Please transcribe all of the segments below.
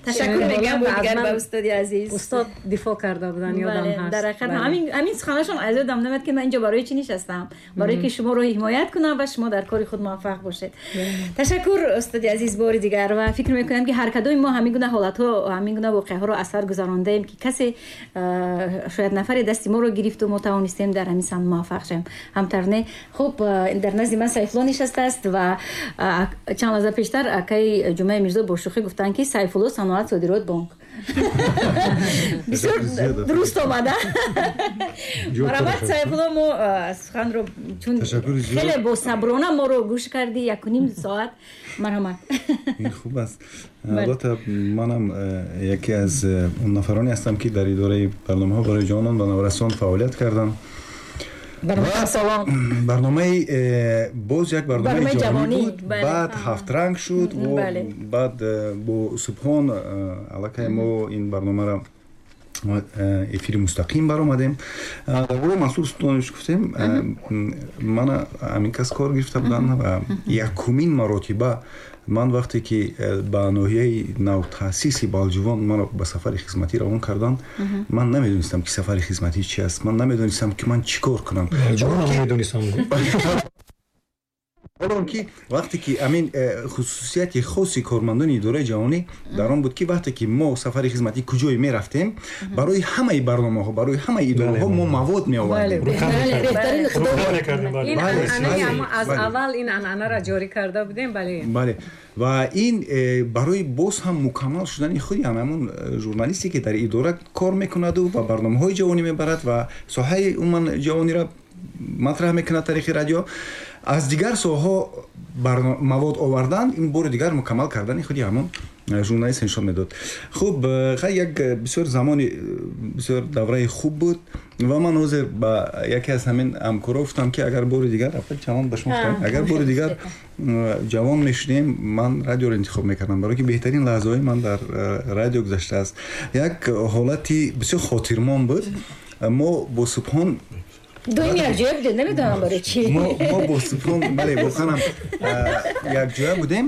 Ташаккур мегӯям бо дигар ба устоди азиз. Устод дифоъ карда буданд, ёдам ҳаст. Дар ҳақиқат ҳамин суханашон аз ёдам намеояд, ки ман инҷо барои чӣ нишастам, барои ки шуморо ҳимоят кунам ва шумо дар кори худ муваффақ бошед. Ташаккур, устоди азиз, бори дигар. Ва фикр мекунам, ки ҳар кадоми мо ҳамин гуна ҳолатҳо, ҳамин гуна воқеаҳоро аз сар гузарондаем, ки касе, шояд нафаре дасти моро гирифту мо тавонистем дар ҳамин самт муваффақ шавем. Ҳамтар не? Хуб, дар назди ман Сайфулло нишастааст ва чанд лаҳза пештар акаи Ҷумъаи Мирзо бо шӯхӣ гуфтанд, ки Сайфулло саноат содирот бонк. Бисёр дуруст омада. Марҳамат, Сайфулло, мо суханро чун хеле босаброна моро гӯш кардӣ 1.5 соат, марҳамат. Ин хуб аст. Албатта, манам яке аз он нафароне ҳастам, ки дар идораи барномаҳо барои ҷавонон ва наврасон фаъолият кардам. Барномаи боз як барномаи ҷавонӣ буд, баъд ҳафтранг шуд, баъд бо Субҳон аллакай мо ин барномаро эфири мустақим баромадем. Дар бораи Мансур Султонович гуфтем, мана ҳамин кас кор гирифта буданд ва якумин маротиба ман вақте ки ба ноҳияи навтаъсиси Балҷувон маро ба сафари хизматӣ равон карданд, ман намедонистам, ки сафари хизматӣ чи аст, ман намедонистам, ки ман чӣ кор кунам. Ҳолон ки вақте ки ҳамин хусусияти хоси кормандони идораи ҷавонӣ дар он буд, ки вақте ки мо сафари хизматӣ куҷое мерафтем, барои ҳамаи барномаҳо, барои ҳамаи идораҳо мо мавод меовардем. Аз аввал ин анъанаро ҷорӣ карда будем, бале. Бале, ва ин барои боз ҳам мукаммал шудани худи ҳамон журналисте, ки дар идора кор мекунаду ва барномаҳои ҷавонӣ мебарад ва соҳаи умуман ҷавониро матраҳ мекунад тариқи радио, аз дигар соҳаҳо мавод овардан, ин бори дигар мукаммал кардани худи ҳамон журналист нишон медод. Хуб, хай, як бисёр замони, бисёр давраи хуб буд ва ман ҳозир ба яке аз ҳамин ҳамкоро гуфтам, ки агар бори дигар, чамон ба шумо гуфтам, агар бори дигар ҷавон мешудем, ман радиоро интихоб мекардам, барое ки беҳтарин лаҳзаҳои ман дар радио гузаштааст. Як ҳолати бисёр хотирмон буд. Мо бо Субҳон Доим якҷоя будед, намедонам барои чӣ. Мо бо Субҳон, бале, воқеанам якҷоя будем.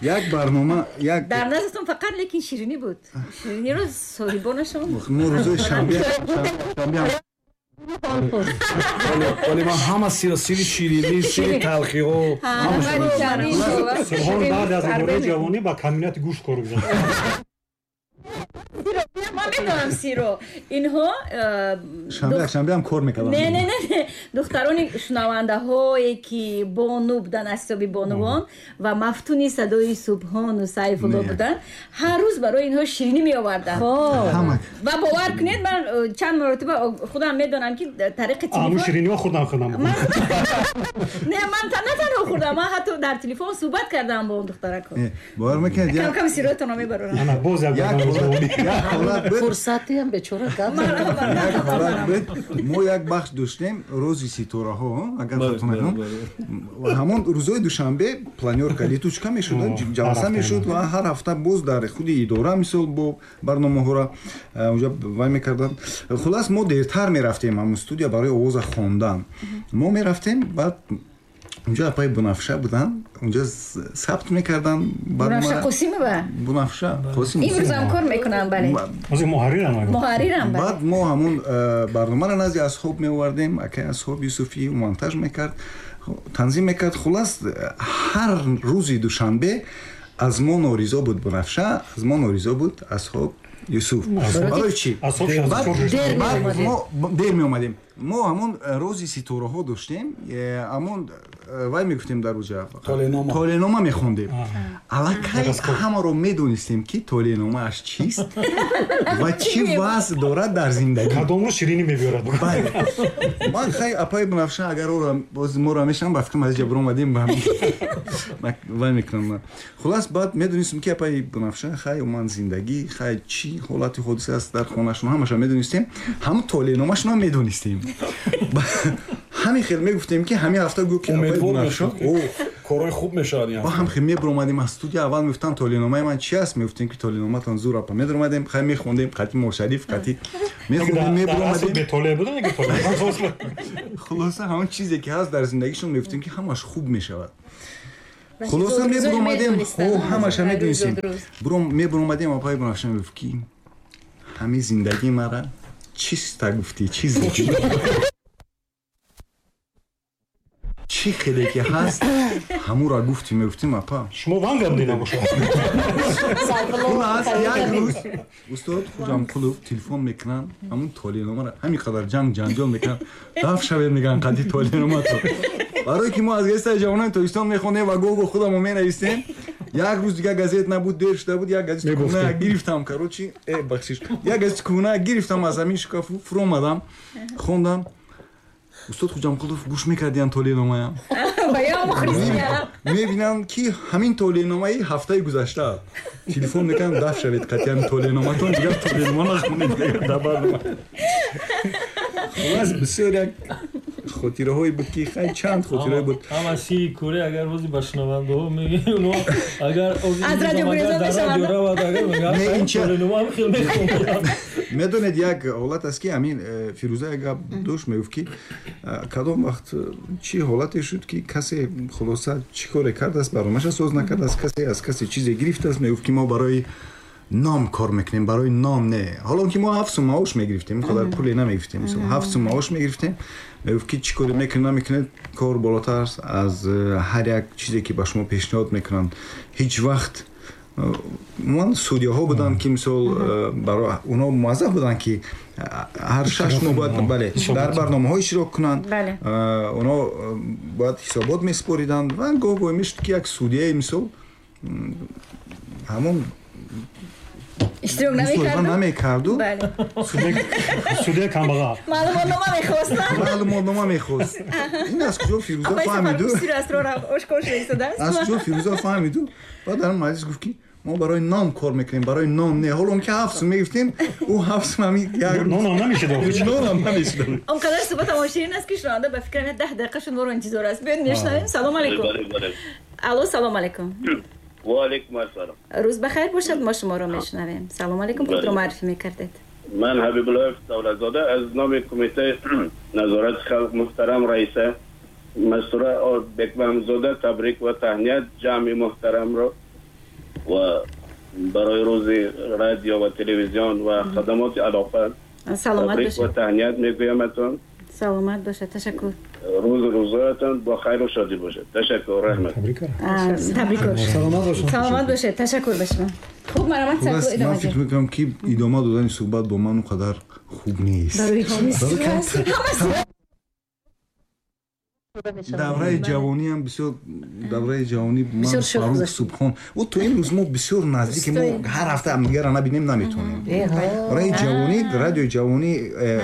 Як барнома, як Дар наздатон фақат лекин ширинӣ буд. Шириниро соҳибонашон Мо рӯзои шанбе Вале ман ҳама сири ширинӣ, сири талхиҳо. Субҳон баъд аз идораи ҷавонӣ ба комбинати гӯшт кор гузашт. Ман медонам сиро. Инҳо Шанбеам кор мекардам. Не, не, не, духтарони шунавандаҳое, ки бону буданд, аз ҳисоби бонувон ва мафтуни садои Субҳону Сайфулло буданд, ҳар рӯз барои инҳо ширинӣ меоварданд. Ва бовар кунед, ман чанд маротиба худам медонам, ки тариқи телефон шириниҳо хӯрдам худам. Не, ман на танҳо хӯрдам, ман ҳатто дар телефон суҳбат кардам бо он духтаракҳо. Бовар мекунед? Кам кам сиротонро мебарорам. Боз як Фурсатиам бечора гап. Мо як бахш доштем, «Рӯзи ситораҳо», агар хато накунам. Ҳамон рӯзои душанбе планёрка, летучка мешуд, ҷаласа мешуд ва ҳар ҳафта боз дар худи идора, мисол, бо барномаҳоро онҷа вай мекарданд. Хулас, мо дертар мерафтем ҳамон студия барои овоза хондан. Мо мерафтем, баъд унҷо апаи Бунафша буданд, унҷо сабт мекарданд. Бунафша Қосимова. Бунафша Қосимова. Имрӯзам кор мекунам, бале. Муҳаррирам. Муҳаррирам, бале. Баъд мо ҳамон барномаро назди Асҳоб меовардем, акай Асҳоб Юсуфӣ монтаж мекард, танзим мекард. Хулас, ҳар рӯзи душанбе аз мо норизо буд Бунафша, аз мо норизо буд Асҳоб Юсуф. Барои чӣ? Мо дер меомадем. Мо ҳамон рӯзи ситораҳо доштем, ҳамон вай мегуфтем, дар рӯза толенома мехондем. Аллакай ҳамаро медонистем, ки толеномааш чист ва чӣ вазъ дорад дар зиндагӣ. Кадом рӯз ширинӣ мебиёрад. Ман хай, апаи Бунафша агар моро мешавам, ба фикрам, аз ҷа биромадем, вай мекунам. Хулас, баъд медонистем, ки апаи Бунафша хай уман зиндагӣ, хай чӣ ҳолати ҳодиса аст дар хонашон, ҳамаша медонистем, ҳам толеномашонам медонистем. Ҳамин хел мегуфтем, ки ҳамин ҳафта гӯ ки Корҳои хуб мешавад. Ҳам хел мебиромадем аз студия, аввал мегуфтанд, толеномаи ман чи аст? Мегуфтем, ки толеноматон зур, апа. Медаромадем, хай, мехондем қати Мошариф, қати мехондем, мебиромадем. Хулоса, ҳамон чизе ки ҳаст дар зиндагишон, мегуфтем, ки ҳамаш хуб мешавад. Хулоса мебуромадем, ҳамаша медонистем. Мебуромадем, апаи Бунафша мегуфт, ки ҳамин зиндагии мара чиста гуфтӣ, чиз чӣ хеле ки ҳаст, ҳамура гуфтӣ. Мегуфтим, апа, шумо ванга будӣ набошад. Хулас, як рӯз устод Хуҷамқулов телефон мекунанд, ҳамун толеъномаро ҳамин қадар ҷанг ҷанҷол мекунанд, даф шавед, мегӯянд, қади толеъномато. Барое ки мо аз газетаи ҷавонони Тоҷикистон мехондем ва гоҳ-гоҳ худамо менавистем. Як рӯз дигар газет набуд, дер шуда буд, як газети кӯҳна гирифтам, короче, бахшиш, як газети кӯҳна гирифтам аз ҳамин шкафу, фуромадам, хондам. Устод Хуҷамқулов гӯш мекардиян толеъномаям. Мебинам, ки ҳамин толеъномаи ҳафтаи гузашта. Телефон мекунам, даф шавед қатъиян толеъноматон, дигар толеънома нахонед дар барнома. Хулас, бисёр як хотираҳое буд, ки хай чанд хотираҳое буд. Ҳама сири кӯре агар рӯзи ба шунавандаҳо мегӯем, онҳо агар аз радио гурезон мешаванд. Равад, агар мегӯянд, толеънома ҳам хел мехонанд. Медонед, як ҳолат аст, ки ҳамин Фирӯза як гап дошт, мегуфт, ки кадом вақт чӣ ҳолате шуд, ки касе хулоса чӣ коре кардааст, барномаша соз накардааст, касе аз касе чизе гирифтааст. Мегуфт, ки мо барои ном кор мекунем, барои ном не. Ҳоло ки мо 7 сум маош мегирифтем, ин қадар пуле намегирифтем, 7 сум маош мегирифтем. Мегуфт, ки чӣ коре мекунед, намекунед, кор болотар аст аз ҳар як чизе, ки ба шумо пешниҳод мекунанд. Ҳеҷ вақт умуман судяҳо буданд, ки мисол барои онҳо муаззаф буданд, ки ҳар 6 моҳ бояд, бале, дар барномаҳо иштирок кунанд, онҳо бояд ҳисобот месупориданд. Ва гоҳ гоҳ мешуд, ки як судяе, мисол, ҳамон иштирок намекарду. Намекарду. Судяи камбағал. Маълумотнома мехост. Маълумотнома мехост. Ин аз куҷо Фирӯза фаҳмиду? Сиру асрора ошкор шуда истодааст. Аз куҷо Фирӯза фаҳмиду? Баъд дар маҷлис гуфт, ки мо барои ном кор мекунем, барои ном не. Ҳоло ки 7 сум мегирифтем, ӯ 7 сум ҳамин як нонам намешуд. Нонам намешуд. Он қадар суҳбатамон ширин аст, ки шунаванда ба фикрам 10 дақиқа шуморо интизор аст. Биёед, мешунавем. Салом алейкум. Алло, салом алейкум. Ва алейкум ассалом. Рӯз бахайр бошад, мо шуморо мешунавем. Салом алейкум, худро муаррифӣ мекардед. Ман Ҳабибуллоев Давлатзода аз номи Кумитаи назорати халқ муҳтарам раиса Мастура Бекмамзода табрик ва таҳният ҷамъи муҳтарамро ва барои рӯзи радио ва телевизион ва хадамоти алоқа Саломат табрик ва бошед. таҳният мегӯяматон. Саломат бошад, ташаккур. Рӯзу рӯзоятон бо хайру шодӣ бошад. Ташаккур, раҳмат. Табрикот. Саломат бошед. Саломат бошед, ташаккур ба шумо. Хуб, марҳамат. Хулас, Сайфулло, ман идома фикр диҳед. мекунам, ки идома додани суҳбат бо ман он қадар хуб нест. Барои чӣ? Барои давраи ҷавониам бисёр, давраи ҷавонӣ ман Бисёр шӯх Фарух гузашт. Субҳон, ӯ то имрӯз мо бисёр наздики, мо ҳар ҳафта ҳамдигарро набинем, наметавонем. Давраи ҷавонӣ, радиои ҷавонӣ,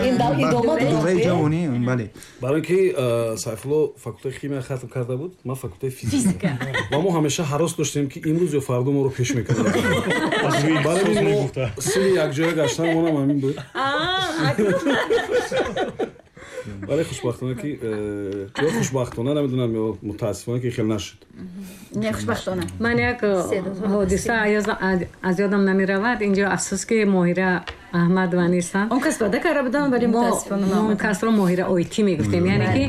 идома дошт, давраи ҷавонӣ, бале. Барои ки Сайфулло факултаи химия хатм карда буд, ман факултаи физика, ва мо ҳамеша ҳарос доштем, ки имрӯз ё фардо моро пеш мекунанд. Барои ин мо сини якҷоя гаштанамонам ҳамин буд. Вале хушбахтона ки ё хушбахтона, намедонам, ё мутаассифона, ки хел нашуд. Не, хушбахтона. Ман як ҳодиса аз ёдам намеравад. Инҷо афсӯс, ки Моҳира Аҳмадова нестанд. Он кас ваъда карда будам, вале мо мутаассифона мо он наомадам. касро Моҳира Ойти мегуфтем, яъне ки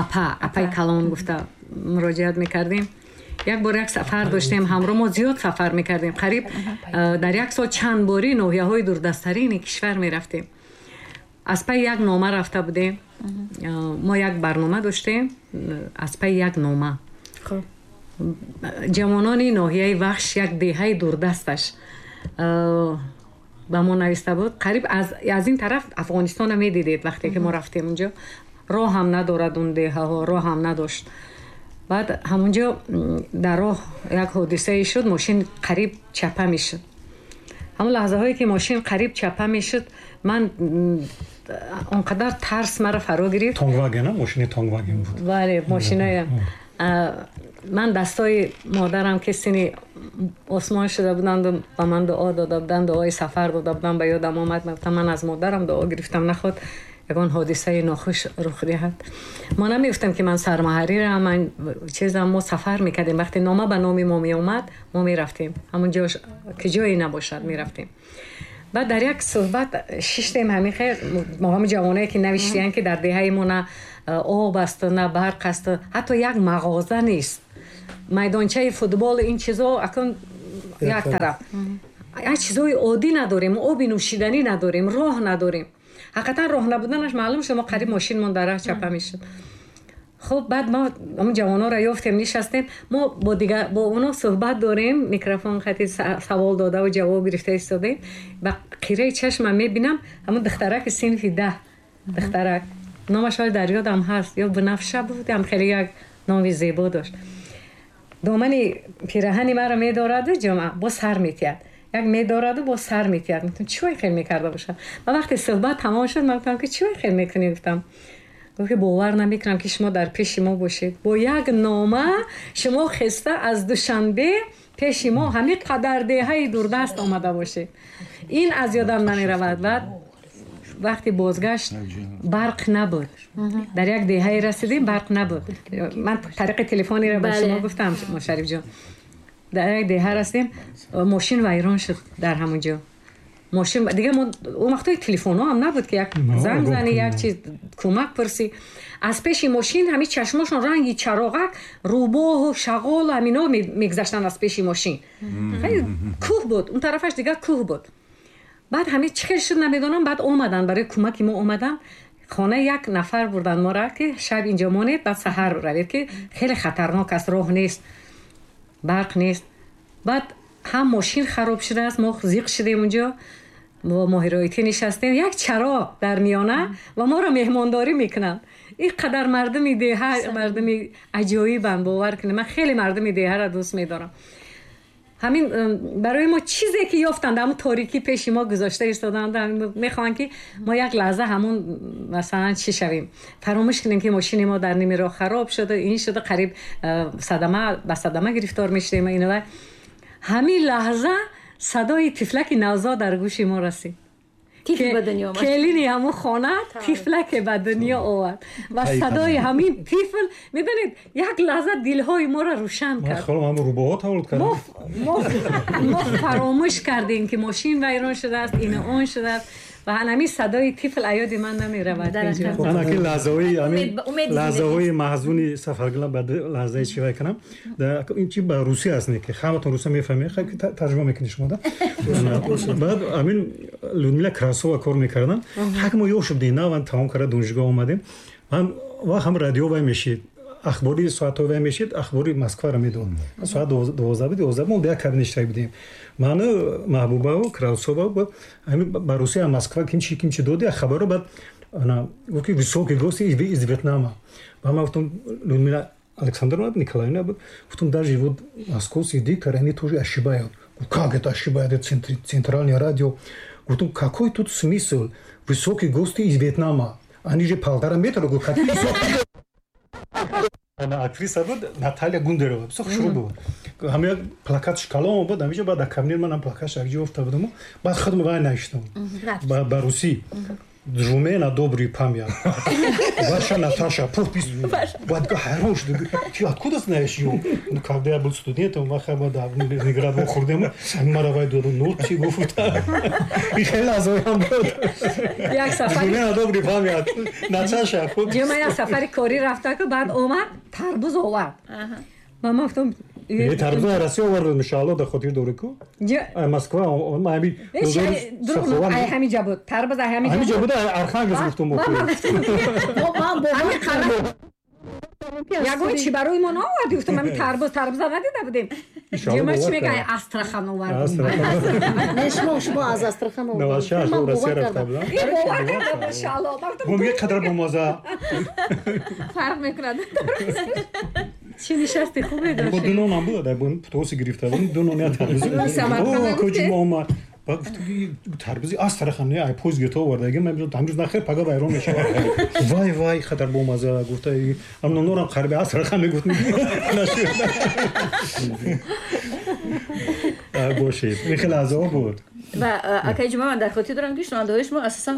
апа, апаи калон гуфта муроҷиат мекардем. Як бор як сафар доштем ҳамроҳ, мо зиёд сафар мекардем, қариб дар як сол чанд борӣ ноҳияҳои дурдасттарини кишвар мерафтем. Аз пайи як нома рафта будем. Мо як барнома доштем, аз пайи як нома ҷавонони ноҳияи Вахш, як деҳаи дурдасташ, ба мо нависта буд. Қариб аз ин тараф Афғонистона медидед. Вақте ки мо рафтем, унҷо роҳ ҳам надорад, он деҳаҳо роҳ ҳам надошт. Баъд ҳамунҷо дар роҳ як ҳодисае шуд, мошин қариб чапа мешуд. Ҳамон лаҳзаҳое ки мошин қариб чапа мешуд, ман он қадар тарс маро фаро гирифт. Тонгваген, мошини Тонгваген буд. Бале, мошиная. Ман дастои модарам, ки сини осмон шуда буданду ба ман дуо дода буданд, дуои сафар дода буданд, ба ёдам омад. Гуфтам, ман аз модарам дуо гирифтам, наход ягон ҳодисаи нохуш рух диҳад. Мо намегуфтем, ки ман сармуҳаррирам, ман чизам. Мо сафар мекардем. Вақте нома ба номи мо меомад, мо мерафтем ҳамон ҷош, ки ҷое набошад, мерафтем. Баъд дар як суҳбат шиштем, ҳамин хел мо, ҳамин ҷавоное, ки навиштиян, ки дар деҳаи мо на об аст, на барқ аст, ҳатто як мағоза нест, майдончаи футбол, ин чизо акун як тараф, як чизои оддӣ надорем, оби нӯшиданӣ надорем, роҳ надорем. Ҳақиқатан роҳ набуданаш маълум шуд, мо қариб мошинмон дар раҳ чапа мешуд. Хуб, баъд мо ҳамон ҷавононро ёфтем, нишастем, мо бо дигар бо оно суҳбат дорем, микрофон хати савол додаву ҷавоб гирифта истодем. Ба қираи чашмам мебинам ҳамон духтараки синфи 10, духтарак, номаш ҳоли дар ёдам ҳаст, ё Бунафша буд, ҳам хеле як номи зебо дошт. Домани пираҳани маро медораду ҷамъа бо сар метиҳад, як медораду бо сар метиҳад. Гуфтам, чӣ вай хел мекарда бошад? Ва вақте суҳбат тамом шуд, ман гуфтам, ки чӣ вай хел мекунӣ? Гуфтам, гуфт, ки бовар намекунам, ки шумо дар пеши мо бошед. Бо як нома шумо хеста аз Душанбе пеши мо ҳамин қадар деҳаи дурдаст омада бошед. Ин аз ёдам намеравад. Баъд вақти бозгашт барқ набуд. Дар як деҳае расидем, барқ набуд. Ман тариқи телефонеро ба шумо гуфтам, Шарифҷон. Дар як деҳа расидем, мошин вайрон шуд дар ҳамон ҷо. Мошин дига мо он вақтҳои телефонҳо ҳам набуд, ки як занг зани, як чиз кӯмак пурсӣ. Аз пеши мошин ҳамин чашмошон ранги чароғак, рӯбоҳу шағол, ҳамино мегузаштанд аз пеши мошин. Хеле кӯҳ буд, он тарафаш дига кӯҳ буд. Баъд ҳамин чӣ хел шуд намедонам, баъд омаданд, барои кӯмаки мо омаданд. Хонаи як нафар бурданд моро, ки шаб инҷо монед, баъд саҳар равед, ки хеле хатарнок аст, роҳ нест, барқ нест. Баъд ҳам мошин хароб шудааст, мо зиқ шудем унҷо, бо моҳироитӣ нишастем, як чароғ дар миёна ва моро меҳмондорӣ мекунанд. Ин қадар мардуми деҳа мардуми аҷоибанд, бовар кунед, ман хеле мардуми деҳаро дӯст медорам. Ҳамин барои мо чизе ки ёфтанд, ҳамон торикӣ пеши мо гузошта истоданд, мехоҳанд, ки мо як лаҳза ҳамон масалан чӣ шавем, фаромӯш кунем, ки мошини мо дар ними роҳ хароб шуда, ин шуда, қариб садама ба садама гирифтор мешудем. Ина ҳамин лаҳза садои тифлаки навзод дар гӯши мо расид. Тифл ба дунё омад. Келини ҳамон хона тифлаке ба дунё овард ва садои ҳамин тифл, медонед, як лаҳза дилҳои моро рӯшан кард. Ҳамон рӯбоҳо таваллуд карданд. Мо фаромӯш кардем, ки мошин вайрон шудааст, ин он шудааст, ва ҳамин садои тифл аёди ман намеравад. Анаки лаҳзаҳои ҳамин лаҳзаҳои маҳзуни сафаргила ба лаҳзаи чӣ вай кунам, ин чи ба русӣ аст, не ки ҳаматон руса мефаҳмед, тарҷума мекунед шумо да. Баъд ҳамин Людмила Красова кор мекарданд, ҳак мо ёш будем, наван тамом карда донишгоҳ омадем, ва ҳам радио вай мешид, ахбори соатҳо вай мешид, ахбори Москваро медод. Соат 12 буд, 11 мо як кабинет иштирок будем. Ману Маҳбубаву Красова ба Русия, Москва кимчи кимчи доди хабаро, баъд гуфт, ки высокий гости из Вьетнама. Ба ман гуфтам, Людмила Александровна Николаевна буд, гуфтам, даже вот московские дикторы, они тоже ошибают. Как это ошибают? Это центральное радио. Гуфтам, какой тут смысл? Высокие гости из Вьетнама. Они же 1,5 метра, говорю, какие высокие. Актриса буд Наталья Гундерова, бисёр хушрӯ буд. Ҳама як плакат шкалон буд, ҳамиҷо баъд дар кабинет манам плакатш якҷо афта будам, баъд худам вай навиштам ба русӣ: Жуме на добрый память. Ваша Наташа, подпись. Баъд ҳайрон шуд. Ты откуда знаешь её? Ну, когда я был студентом, в Ленинград вохӯрдем, мара вай доду, ну, чӣ гуфт? И хеле лаҳзаҳоям буд. Як сафари Жуме на добрый память. Наташа, подпись. Ҷума як сафари корӣ рафта, ку баъд омад, тарбуз овард. Ва ман гуфтам, тарбуз Россия овард, иншоалло, дар хотир дорӣ ку? Москва, ҳамин ай ҳамин ҷа буд. Тарбуз ай ҳамин ҳамин ҷа буд, Архангелск гуфтум. Ҳамин қара ягон чӣ барои мо наовардӣ? Гуфтам, ҳамин тарбуз, тарбуза надида будем. Ҷума чӣ мега, Астрахан овард. Не, шумо аз Астрахан овард. Ман бовар кардам. Ин бовар кардам, иншоалло. Мегӯяд қадр бомаза. Фарқ мекунад. Чӣ нишасти хубе дошт. Бо ду нонам буд, птоси гирифта будем, ду нон, як тарбуз. Куҷо омад? Баъд гуфтам, тарбузи Астрахан не, ай поезд гирифта овардаги, ман ҳамрӯз нахер, пага вайрон мешавад. Вай вай, хатар бомаза, гуфта, ам нонорам қариби Астрахан мегуфт. Нашуд. Бошед. Ин хеле лаҳзаҳо буд. Ва акаи Ҷума, ман дар хотир дорам, ки шунавандаҳои шумо асосан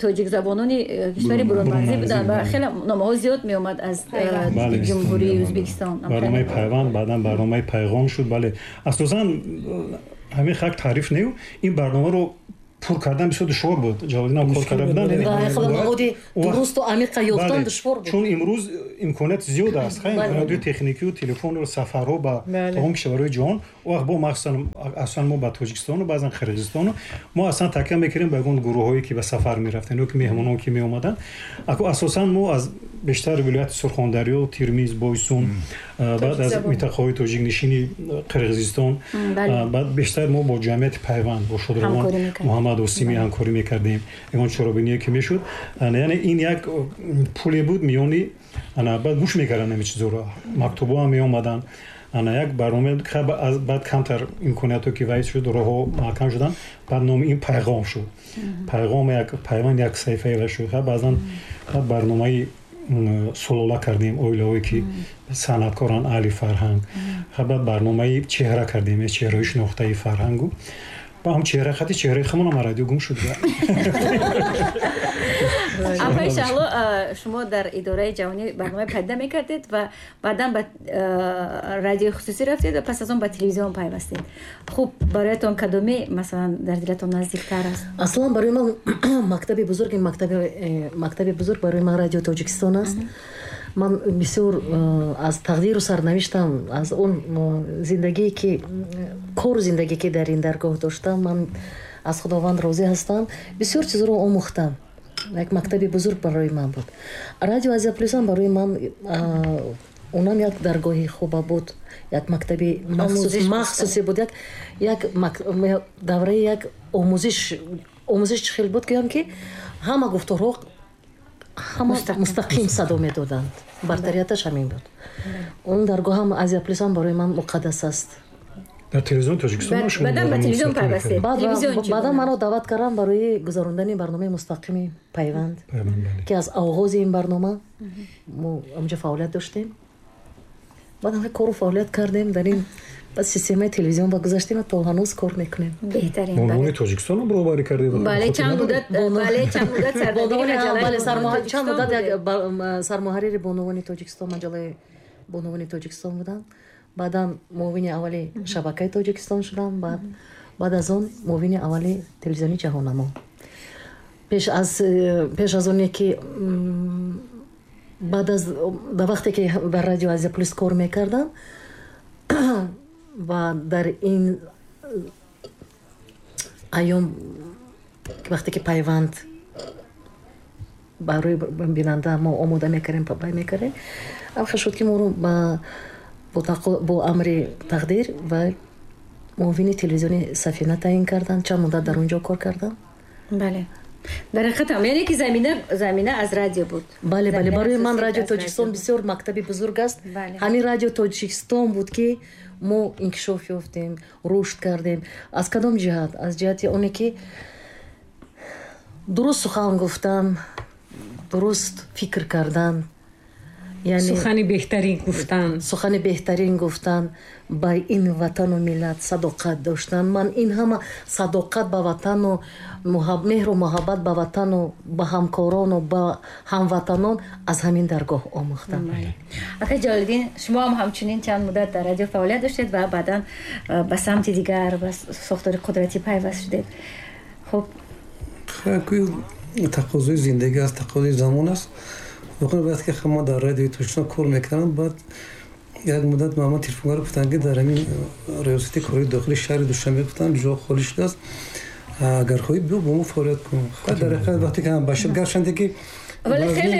тоҷикзабонони кишвари бурунмарзӣ буданд ва хеле номаҳо зиёд меомад аз Ҷумҳурии Ӯзбекистон. Барномаи Пайванд, баъдан барномаи Пайғом шуд, бале. Асосан ҳамин хак таъриф нею, ин барномаро Пур кардан бисёр душвор буд. Ҷалолиддин кор карда будан. Маводи дурусту амиқа ёфтан душвор буд. Чун имрӯз имконият зиёд аст, имкониятҳои техникию телефону сафарҳо ба тамоми кишварҳои ҷаҳон. Он вақт бо махсусан аслан мо ба Тоҷикистону баъзан Қирғизистону мо аслан такя мекардем ба ягон гурӯҳҳое ки ба сафар мерафтанд ё ки меҳмонон ки меомаданд. Асосан мо аз бештар вилояти Сурхондарё, Тирмиз, Бойсун, баъд аз минтақаҳои тоҷикнишини Қирғизистон, баъд бештар мо бо ҷамъияти Пайванд, бо шодравон Муҳаммад Осимӣ ҳамкорӣ мекардем. Ягон чорабиние ки мешуд, яъне ин як пуле буд миёни, баъд гӯш мекарданд ҳамин чизҳоро, мактубҳо ҳам меомаданд. Ана як барнома баъд камтар имкониятҳо ки вайс шуд, роҳҳо маҳкам шуданд, баъд номи ин Пайғом шуд. Пайғом як Пайванд як саҳифае ва шуд. Баъзан барномаи сулола кардем, оилаҳое ки санъаткоранд, аҳли фарҳанг. Баъд барномаи чеҳра кардем, чеҳраҳои шинохтаи фарҳангу. Ба ҳам чеҳра хати чеҳраи худамон радио гум шуд. Апаи Шаҳло, шумо дар идораи ҷавонӣ барномаи пайдо мекардед ва баъдан ба радиои хусусӣ рафтед ва пас аз он ба телевизион пайвастед. Хуб, бароятон кадоме масалан дар дилатон наздиктар аст? Аслан барои ман мактаби бузург, мактаби бузург барои ман Радио Тоҷикистон аст. Ман бисёр аз тақдиру сарнавиштам, аз он зиндагие ки кору зиндагие ки дар ин даргоҳ доштам, ман аз Худованд розӣ ҳастам. Бисёр чизро омӯхтам. Як мактаби бузург барои ман буд. Радио Азия Плюсам барои ман онам як даргоҳи хуба буд, як мактаби махсусе буд, як давраи як омӯзиш чӣ хел буд, гӯям ки ҳама гуфторҳо ҳама мустақим садо медоданд. Бартарияташ ҳамин буд. Он даргоҳам Азия Плюсам барои ман муқаддас аст. Дар телевизиони Тоҷикистон шумо баъдан ба телевизион пайвастед? Баъдан маро даъват карданд барои гузарондани барномаи мустақими Пайванд, ки аз оғози ин барнома мо онҷо фаъолият доштем. Баъдан кору фаъолият кардем дар ин системаи телевизион ба гузаштем ва то ҳанӯз кор мекунем. Беҳтарин. Бонувони Тоҷикистон роҳбарӣ кардед? Бале, чанд муддат, бале, чанд муддат сардабири маҷаллаи чанд муддат як сармуҳаррири Бонувони Тоҷикистон, маҷаллаи Бонувони Тоҷикистон будам. Баъдан муовини аввали шабакаи Тоҷикистон шудам, баъд аз он муовини аввали телевизиони Ҷаҳоннамо. Пеш аз оне ки баъд аз дар вақте ки дар Радио Азия Плюс кор мекардам ва дар ин айём вақте ки Пайванд барои бинанда мо омода мекардем, пай мекардем, амха шуд ки моро бо амри тақдир ва муовини телевизиони Сафина таъин карданд. Чанд муддат дар он ҷо кор кардам. Бале, дар ҳақиқат яъне ки замина аз радио буд. Бале, бале, барои ман Радио Тоҷикистон бисёр мактаби бузург аст. Ҳамин Радио Тоҷикистон буд ки мо инкишоф ёфтем, рушд кардем. Аз кадом ҷиҳат? Аз ҷиҳати оне ки дуруст сухан гуфтан, дуруст фикр кардан, сухани беҳтарин гуфтан, сухани беҳтарин гуфтан, ба ин ватану миллат садоқат доштан. Ман ин ҳама садоқат ба ватану меҳру муҳаббат ба ватану ба ҳамкорону ба ҳамватанон аз ҳамин даргоҳ омӯхтам. Акай Ҷалолиддин, шумо ҳам ҳамчунин чанд муддат дар радио фаъолият доштед ва баъдан ба самти дигар, ба сохтори қудратӣ пайваст шудед. Хуб, тақозои зиндагӣ аст, тақозои замон аст. Воқеан вақте ки мо дар Радиои Тоҷикистон кор мекардам, баъд як муддат ба ман телефонгаро гуфтанд ки дар ҳамин риёсати корҳои дохили шаҳри Душанбе гуфтанд ҷо холӣ шудааст, агар хоҳӣ биё бо мо фаъолият кун. Дар ҳақиқат вақте ки башир гарчанде ки вале хеле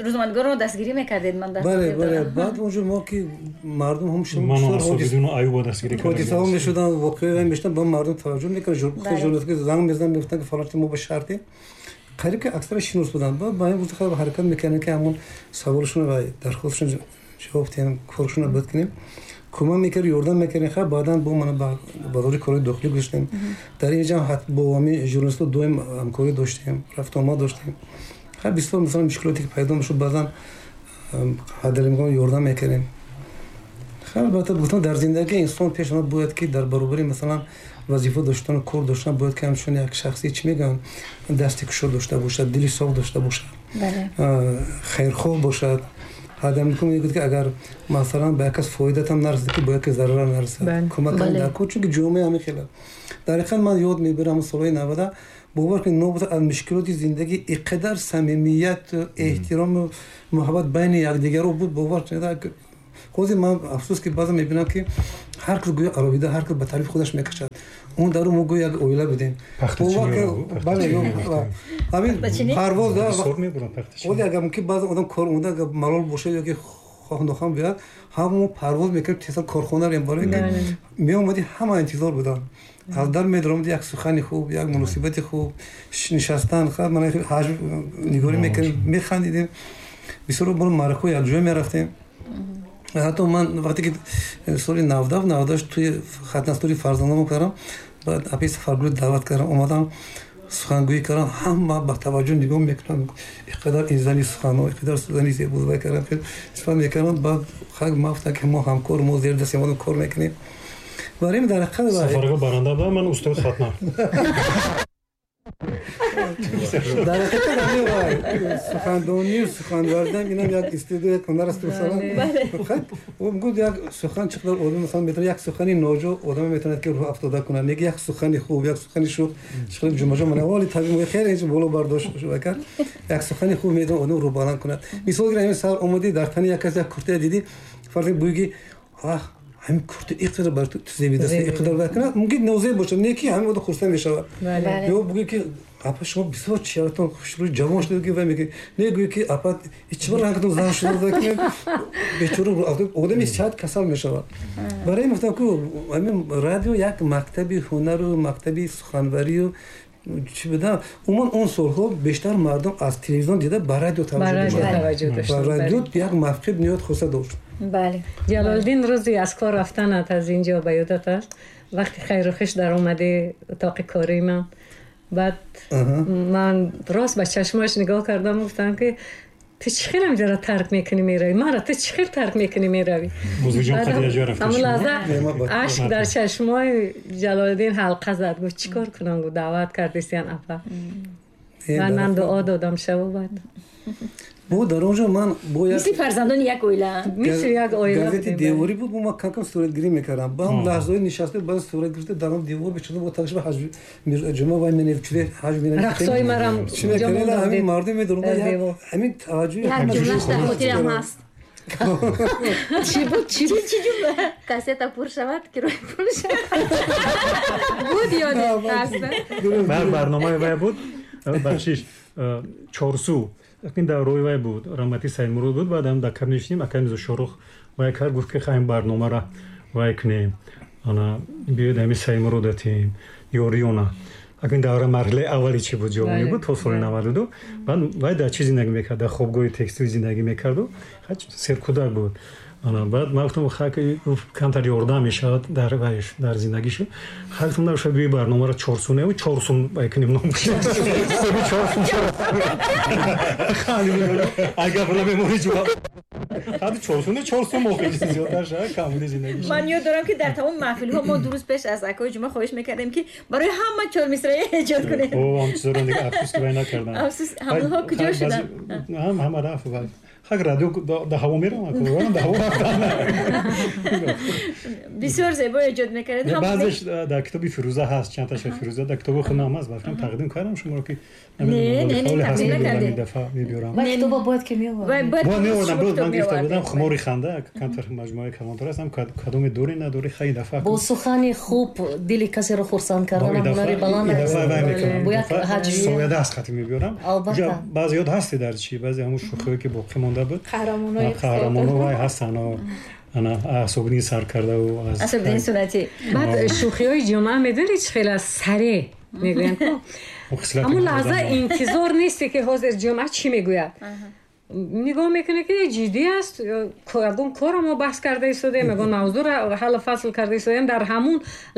рӯзноманигорро дастгирӣ мекардед, ман дар бале, бале, баъд онҷо мо ки мардум ҳам ҳодисаҳо мешуданд, воқеаҳо мешуданд, ба мардум таваҷҷӯҳ мекарданд. Журналистҳо занг мезаданд, мегуфтанд ки фалон мо ба шаҳрдем. Қариб ки аксара шинос буданд. Баъд ба ин гуфта ҳаракат мекардем ки ҳамон саволшон ва дархостшон ҷавоб диҳем, коршонро бад кунем. Кӯмак мекардем, ёрдам мекардем. Хай баъдан бо мана ба бозори корҳои дохилӣ гузаштем. Дар ин ҷо бо ҳамин журналистҳо доим ҳамкорӣ доштем, рафтуомад доштем. Хай бисёр масалан мушкилоте ки пайдо мешуд, баъзан ҳадалимкон ёрдам мекардем. Хай албатта гуфтам дар зиндагӣ инсон пеш омад бояд ки дар баробари масалан вазифа доштан, кор доштан, бояд ки ҳамчун як шахси чӣ мегӯянд, дасти кушод дошта бошад, дили соф дошта бошад, хайрхоҳ бошад, Ҳадам мегӯяд, ки агар масалан ба як кас фоидатам нарасад, ки ба як зарар нарасад, кӯмак дар кор, чунки ҷомеа ҳамин хел. Дар ҳақиқат ман ёд мебарам солҳои 90, бовар кунед, нобуд аз мушкилоти зиндагӣ иқадар самимият, эҳтирому муҳаббат байни якдигаро буд, бовар кунед. Ҳозир ман афсӯс, ки баъзан мебинам, ки ҳар кас гӯё алоҳида, ҳар кас ба тарафи худаш мекашад. Он дару мо гӯё як оила будем. Бале, ҳамин парвоз. Ҳозир агар мумкин баъзан одам кор омода, агар малол бошад ё ки хоҳ нохоҳ биёяд, ҳама мо парвоз мекардем, тезтар корхона рем, барои ки меомадӣ, ҳама интизор буданд. Аз дар медаромадӣ, як сухани хуб, як муносибати хуб, нишастан, ҳаҷм нигорӣ мекардем, механдидем. Бисёр бор маъракаҳо якҷоя мерафтем. Ҳатто ман вақте ки соли 97, 98 туи хатнастури фарзандам кардам, баъд апи Сафаргул даъват кардам, омадам, сухангӯӣ кардам, ҳама ба таваҷҷӯҳ нигоҳ мекунанд, иқадар ин зани сухано, иқадар зани зебо кардам, сифат мекардам. Баъд хак ма гуфтам, ки мо ҳамкор, мо зери дасти одам кор мекунем. Барои дар ҳақиқат Сафаргул баранда будам, ман устоди хатна. Дар ҳақиқат сухандонию сухан варзидан инам як истеъдод, як ҳунар аст. Масалан, гуфт, як сухан чӣ қадар одам, масалан, метавонад, як сухани ноҷо одам метавонад, ки рӯҳ афтода кунад, неки як сухани хуб, як сухани шӯх, чӣ қадар ҷумаҷо мана вали табиъ мо хеле инҷо боло бардошт кард, як сухани хуб метавонад одам рӯ баланд кунад. Мисол гирем, сар омадӣ, дар тани як кас як куртая дидӣ, фарз буй ки ах, ҳамин курта иқадар бар ту зебидаст, иқадар бар кунад, мумкин нозеб бошад, не ки ҳамин одам хурсанд мешавад. Ё бугӯй ки апа, шумо бисёр чеҳратон хушрӯй, ҷавон шуда, ки вай мегӯяд, не гӯй ки апа, чӣ бар рангатон зан шуда, бечора одами сиҳат касал мешавад. Барои ин гуфтам, ку ҳамин радио як мактаби ҳунару мактаби суханварию чӣ будам. Умуман он солҳо бештар мардум аз телевизион дида ба радио таваҷҷӯҳ дошт. Радио як мавқеъ ниҳоят хоса дошт. Бале, Ҷалолиддин, рӯзи аз кор рафтанат аз инҷо ба ёдат аст? Вақти хайру хиш даромадӣ утоқи кории ман, баъд ман рост ба чашмош нигоҳ кардам, гуфтам, ки ту чӣ хел ҳамҷоро тарк мекунӣ меравӣ, маро ту чӣ хел тарк мекунӣ меравӣ? Ҳамон лаҳза ашк дар чашмои Ҷалолиддин ҳалқа зад. Гуфт, чӣ кор кунам? Гуфт, даъват кардисиян апа. Ман дуо додам шаву баъд Бо дар он ҷо ман бо як мисли фарзандони як оила. Мисли як оила. Газети деворӣ буд, ман кам-кам суратгирӣ мекардам. Ба ҳам лаҳзаҳои нишаста, баъд сурат гирифта, дар он девор бечуда бо тағши ҳаҷв ҷума вай менавчуде ҳаҷв менавчуде. Рақсҳои марам. Чӣ мекардем, ҳамин мардум медорум, ҳамин таваҷҷӯҳи Як ҷумлаш дар хотирам ҳаст. Чӣ буд, чӣ буд? Чӣ ҷумла? Кассета пур шавад, кироя пур шавад буд, ёдат ҳаст? Барномаи вай буд, бахшиш, Чорсу. Ин дар рӯи вай буд, раҳмати Саидмурод буд. Баъдам дар каб нишинем, акай Мирзо Шорух вай кард, гуфт, ки хаем барномара вай кунем, ана биёед, ҳами Саидмурод атем ёриёна. Акин давра марҳилаи аввали чӣ буд, ҷавонӣ буд, то соли 92. Баъд вай дар чӣ зиндагӣ мекард, дар хобгоҳи текстил зиндагӣ мекарду серкӯдак буд. Баъд ман гуфтам, камтар ёрдам мешавад дар вайш, дар зиндагишу. Хай, гуфтам, набошад, биёи барномаро чорсуневу чорсун вай кунем, ном чорсун. Агар намемонӣ ҷавоб ҳадди чорсуне, чорсун мо хеле зиёдтар шавад, камбуди зиндагӣ. Ман ёд дорам, ки дар тамоми маҳфилҳо мо 2 рӯз пеш аз акои Ҷума хоҳиш мекардем, ки барои ҳама чор мисраи эҷод кунед. О, ҳам чизоро дига афсӯс, ки вай накардам. Афсӯс, ҳамонҳо куҷо шуданд? Ҳама рафт. Хак, радио да ҳаво меравад, да ҳаво рафтан. Бисёр зебо эҷод мекардед. Баъзеш дар китоби Фирӯза ҳаст, чандташа Фирӯза дар китоби худам ҳаст, ба фикрам тақдим кардам шуморо, ки Не, не, не, тақдим накардед. Дафъа мебиёрам. Ва китоба бояд ки меовардем. Бояд меовардам, бояд ман гирифта будам, хумори ханда, камтар маҷмӯаи калонтар аст, ҳам кадоме дорӣ, надорӣ, хай дафъа. Бо сухани хуб дили касеро хурсанд кардан ҳунари баланд аст. Бо як ҳаҷв соядаст хати мебиёрам. Албатта. Баъзе ёд ҳасти дар чӣ, баъзе ҳамун шӯхиҳое, ки боқӣ монда буд. Қаҳрамонои қаҳрамоно вай ҳастанд, ана асобиддин сар кардаву аз Асобиддин Сунатӣ. Баъд шӯхиҳои ҷумъа медонӣ чӣ хел аст? Сареъ мегӯянд, ҳамун лаҳза интизор несте, ки ҳозир ҷумъа чӣ мегӯяд. Нигоҳ мекунӣ, ки ҷиддӣ аст, ягон корро мо баҳс карда истодаем, ягон мавзӯъро ҳаллу фасл карда истодаем. Дар ҳамун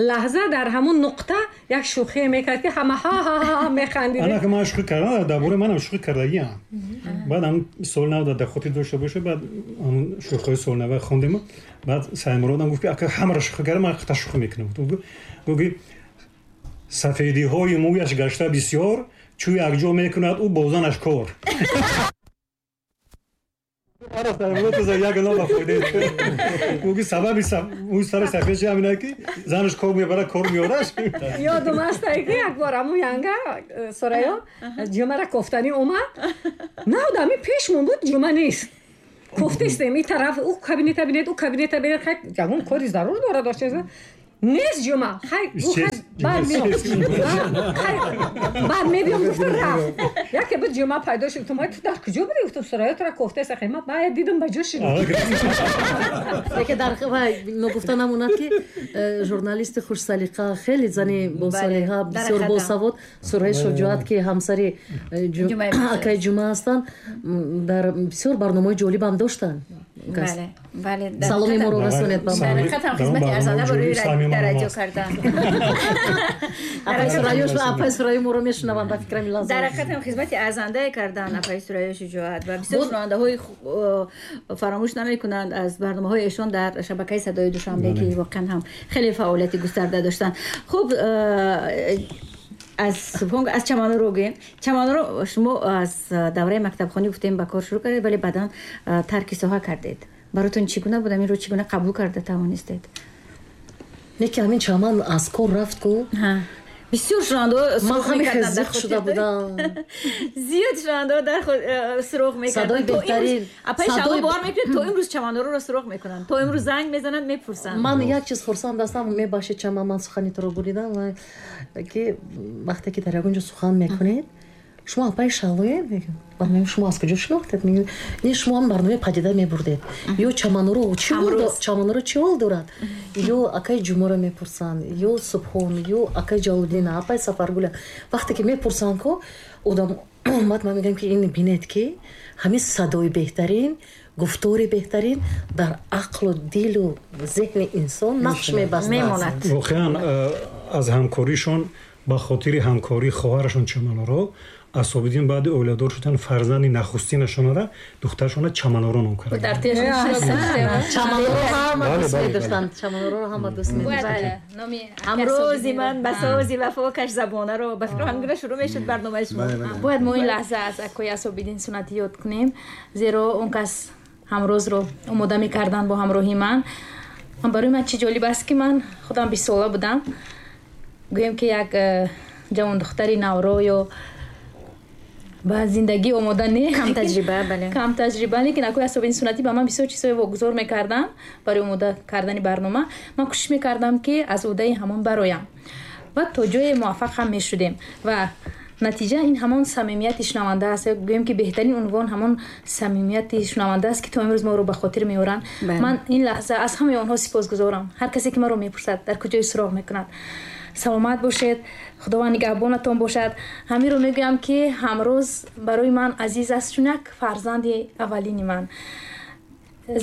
лаҳза, дар ҳамун нуқта як шӯхие мекард, ки ҳама ҳа-ҳа-ҳа механдидем. Ана ки ман шӯхӣ кардам, дар бораи манам шӯхӣ кардагиам. Баъд ҳамун соли нав дар хотир дошта бошед, баъд ҳамун шӯхиҳои соли нава хондем. Баъд Саидмуродам гуфт, ки ака, ҳамаро шӯхӣ кардам, ман хата шӯхӣ мекунам. Гуфт, ки сафедиҳои мӯяш гашта бисёр, чӯ якҷо мекунад ӯ бо занаш кор. Ӯ сабаби мӯи сари сафед шуд ҳамина ки занаш кор мебарад, кор меораш. Ёдум аст, ки як бор ҳамун янга Сурайё ҷумъара кофтанӣ омад. Навд ҳамин пешмон буд, ҷумъа нест. Кофтистем ин тараф, ӯ кабинета бинед, ӯ кабинета бинед, хай ягон кори зарур дорад дошта. Нест ҷумъа. Хай баъд мебиём, гуфту рафт. Яке буд ҷумъа пайдо шуд, гуфтам, ту дар куҷо будӣ? Гуфтам, Сурайё тура кофтаст. Хай ман баъд дидам ба ҷо шуд. Яке дар ногуфта намонад, ки журналисти хушсалиқа, хеле зани босалиқа, бисёр босавод Сурайё Шуҷоат, ки ҳамсари акаи Ҷумъа ҳастанд, дар бисёр барномаҳои ҷолибам доштанд. Бале. Саломи моро расонед ба мо. Дар ҳақиқат ҳам хизмати арзанда барои радио кардан. Апаи Сурайё моро мешунаванд, ба фикрам ин лаҳза. Дар ҳақиқат ҳам хизмати арзандае кардан апаи Сурайё Шуҷоат ва бисёр шунавандаҳои фаромӯш намекунанд аз барномаҳои эшон дар шабакаи Садои Душанбе, ки воқеан ҳам хеле фаъолияти густарда доштанд. Хуб, аз Чаманоро гӯем. Чаманоро шумо аз давраи мактабхонӣ гуфтем ба кор шурӯъ кардед, вале баъдан тарки соҳа кардед. Баротон чӣ гуна буд? Инро чӣ гуна қабул карда тавонистед? Не ки ҳамин Чаман аз кор рафт ку. Бисёр шунавандаҳо ман ҳамин хел зиқ шуда будам. Зиёд шунавандаҳо дар суроғ мекарданд. Садои беҳтарин. Апаи Шаҳло бовар мекунед, то имрӯз Чаманороро суроғ мекунанд. То имрӯз занг мезананд, мепурсанд. Ман як чиз хурсанд ҳастам, мебахшед Чаман, ман сухани туро буридам, ки вақте ки дар ягон ҷо сухан мекунед, шумо апаи Шаҳлоед? Мегӯям, мегӯям, шумо аз куҷо шинохтед? Мегӯям, не, шумо ҳам барномаи падида мебурдед. Ё Чаманоро чӣ Чаманоро чӣ ҳол дорад? Ё акаи Ҷумъаро мепурсанд, ё Субҳон, ё акаи Ҷалолиддина, апаи Сафаргула. Вақте ки мепурсанд ку, одам баъд ман мегӯям, ки ин бинед, ки ҳамин садои беҳтарин, гуфтори беҳтарин дар ақлу дилу зеҳни инсон нақш мебастад. Мемонад. Воқеан аз ҳамкоришон, ба хотири ҳамкории хоҳарашон Чаманоро, Асобиддин баъди оиладор шудан фарзанди нахустинашонара, духтарашона Чаманоро ном карданд. Чаманоро ҳама дӯст медоштанд. Чаманоро ҳама дӯст медоштанд. Ҳамрози ман ба сози вафо каш забонаро, ба фикр ҳамин гуна шурӯъ мешуд барномаи шумо. Бояд мо ин лаҳза аз акои Асобиддин Суннатӣ ёд кунем, зеро он кас ҳамрозро омода мекарданд бо ҳамроҳи ман. Барои ман чӣ ҷолиб аст, ки ман худам 20 сола будам. Гӯем ки як ҷавондухтари навро ё ба зиндагӣ омода не, кам таҷриба, бале, кам таҷриба, лекин акои Асобиддин Суннатӣ ба ман бисёр чизҳое вогузор мекарданд барои омода кардани барнома. Ман кӯшиш мекардам, ки аз ӯҳдаи ҳамон бароям ва то ҷое муваффақ ҳам мешудем. Ва натиҷа ин ҳамон самимияти шунаванда аст. Гӯем ки беҳтарин унвон ҳамон самимияти шунаванда аст, ки то имрӯз моро ба хотир меоранд. Ман ин лаҳза аз ҳамаи онҳо сипосгузорам. Ҳар касе ки маро мепурсад, дар куҷои суроғ мекунад. Саломат бошед, Худованд нигаҳбонатон бошад. Ҳаминро мегӯям, ки ҳамрӯз барои ман азиз аст, чун як фарзанди аввалини ман,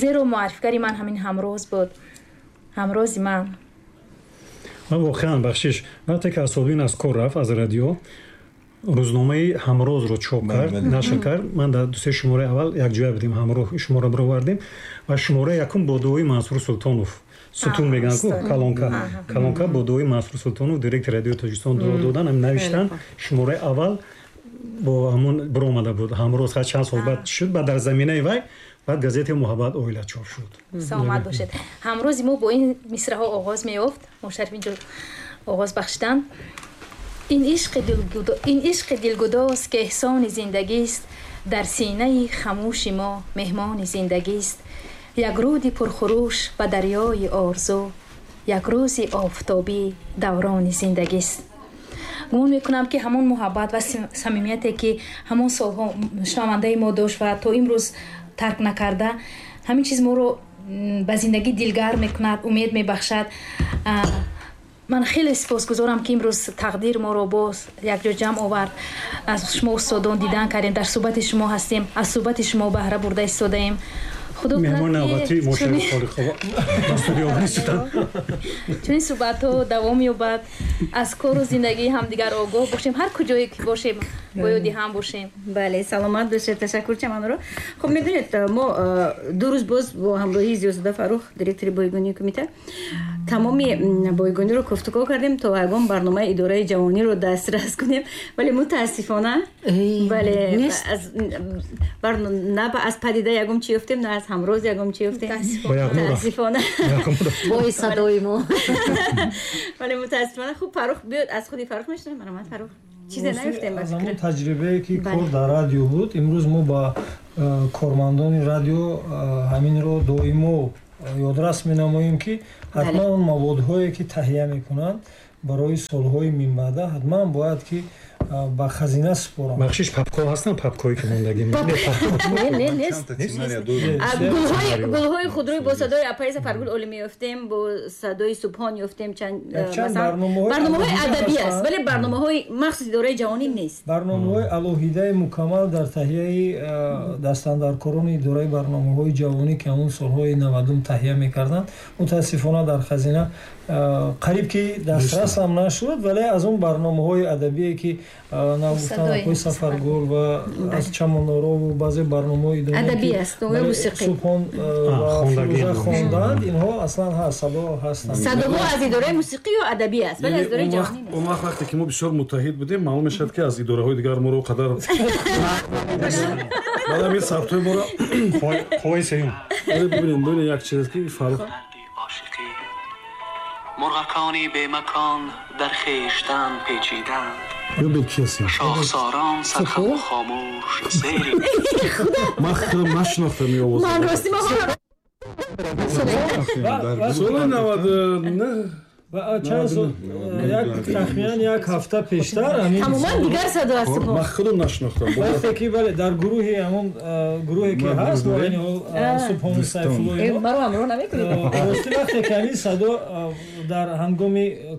зеро муаррифгари ман ҳамин ҳамрӯз буд, ҳамрӯзи ман. Ман воқеан бахшиш, вақте ки Асобиддин аз кор рафт аз радио, рӯзномаи Ҳамрозро чоп кард, нашр кард. Ман дар ду се шумораи аввал якҷоя будем, ҳамроҳ шумора баровардем ва шумораи якум бо дуои Мансур Султонов, сутун мегӯянд ку, колонка бо дуои Мансур Султонов, директори радиои Тоҷикистон, дуо додан, ҳам навиштан. Шумораи аввал бо ҳамон баромада буд Ҳамроз. Чанд сол баъд шуд, баъд дар заминаи вай баъд газетаи Муҳаббат оила чоп шуд. Саломат бошед. Ҳамрози мо бо ин мисраҳо оғоз меёфт. Мушарраф инҷо оғоз бахшиданд. Ин ишқи дилгудоз, ки эҳсони зиндагист, дар синаи хамӯши мо меҳмони зиндагист. Як рӯди пурхурӯш ба дарёи орзу, як рӯзи офтобӣ даврони зиндагист. Гумон мекунам, ки ҳамон муҳаббат ва самимияте, ки ҳамон солҳо шунавандаи мо дошт ва то имрӯз тарк накарда, ҳамин чиз моро ба зиндагӣ дилгарм мекунад, умед мебахшад. Ман хеле сипосгузорам, ки имрӯз тақдир моро боз якҷо ҷамъ овард. Аз шумо устодон дидан кардем, дар суҳбати шумо ҳастем, аз суҳбати шумо баҳра бурда истодаем. Худо меҳмон навбатӣ Мошари Холиқова ба студия омаданд. Чунин суҳбатҳо давом ёбад. Аз кору зиндагии ҳамдигар огоҳ бошем, ҳар куҷое ки бошем, бо ёди ҳам бошем. Бале, саломат бошед, ташаккур Чаманро. Хуб, медонед, мо 2 рӯз боз бо ҳамроҳии Зиёзода Фаррух, директори бойгонии кумита, тамоми бойгониро гуфтугӯ кардем то ягон барномаи идораи ҷавониро дастрас кунем, вале мутаассифона бале на аз падида ягон чи ёфтем, на аз ҳамроз ягон чи ёфтем. Мутаассифона бо садои мо. Вале мутаассифона. Хуб, Фаррух биёд, аз худи Фаррух мешунавем. Марҳамат Фаррух. Чизе наёфтем аз ҳамон таҷрибае ки кор дар радио буд. Имрӯз мо ба кормандони радио ҳаминро доимо ёдрас менамоем, ки ҳатман он маводҳое ки таҳия мекунанд барои солҳои минбаъда ҳатман бояд ки ба хазина супоранд. Бахшиш, папкҳо ҳастанд, папкҳое ки мондагӣ? Не, нест. Гулҳои худрӯй бо садои апаи Сафаргул Олӣ меёфтем, бо садои Субҳон ёфтем, чанд барномаҳои адабӣ аст, вале барномаҳои махсуси идораи ҷавонӣ нест. Барномаҳои алоҳидаи мукаммал дар таҳияи дастандаркорони идораи барномаҳои ҷавонӣ, ки ҳамон солҳои 90 таҳия мекарданд, мутаассифона дар хазина қариб ки дастрас ҳам нашуд, вале аз он барномаҳои адабие ки нагуфтан апои Сафаргул ва аз Чамонорову баъзе барномаҳои адабӣ аст, мусиқӣ Субҳон ва Фирӯза хонданд, инҳо аслан ҳаст, садо ҳастанд. Садоҳо аз идораи мусиқӣ ё адабӣ аст, вале аз идораи ҷавонӣ нест. Он вақт вақте ки мо бисёр муттаҳид будем, маълум мешавад ки аз идораҳои дигар моро қадар баъд ҳамин сабтҳои моро қувваи сеюм. Бибинем, бибинем як чиз ки Фаррух مرغکانی به مکان در خویشتن پیچیدند، شاخساران سرخم و خاموش زیر. من خودم نشناختم این آواز. من راستی ما سال 99 و چند سال، یک تخمیناً یک هفته پیشتر همین تماما دیگر صدا است. من خودم نشناختم وقتی که بله در گروهی همون گروهی که هست و این سبحان سیف‌الله مرا همراه نمی‌کنید. راستی وقتی که همین صدا در هنگام